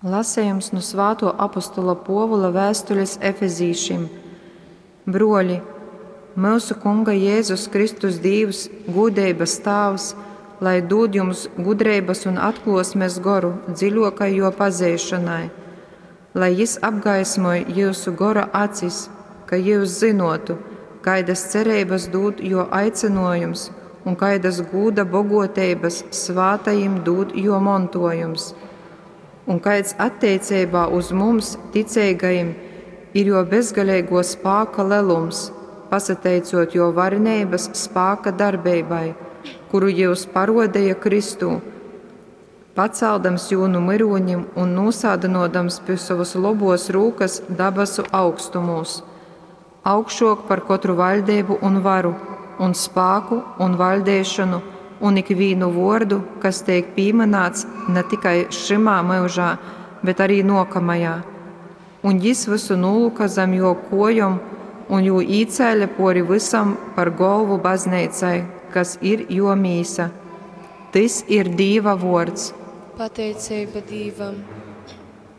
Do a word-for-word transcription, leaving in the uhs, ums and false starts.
Lasejums nu Svātuo apostola Puovula vēstulis Efezīšim. Bruoli, myusu Kunga Jēzus Kristus Dīvs, gūdeibas Tāvs, lai dūd jums gudreibas un atkluosmes goru dziļuokai juo pazeišonai, lai Jis apgaismoj jyusu gora acis, ka jyus zynuotu, kaidas cereibas dūd juo aicynuojums un kaidas gūda boguoteibas svātajim dūd juo montuojums un kaids atteiceibā uz mums, ticeigajim, ir juo bezgaleiguo spāka lelums, pasateicot juo vareneibas spāka darbeibai, kuru jyus paruodeja Kristū, pacaldams jū nu myrūnim un nūsādynuodams pi sovas lobuos rūkas dabasu augstumūs, augšuok par kotru vaļdeibu un varu, un spāku un vaļdeišonu, un ikvīnu vuordu, kas teik pīmynāts na tikai šymā myužā, bet arī nuokamajā. Un jis vysu nūlyka zam juo kuojom un jū īcēle puori vysam par golvu bazneicai, kas ir juo mīsa. Tys ir Dīva vuords. Pateiceiba Dīvam.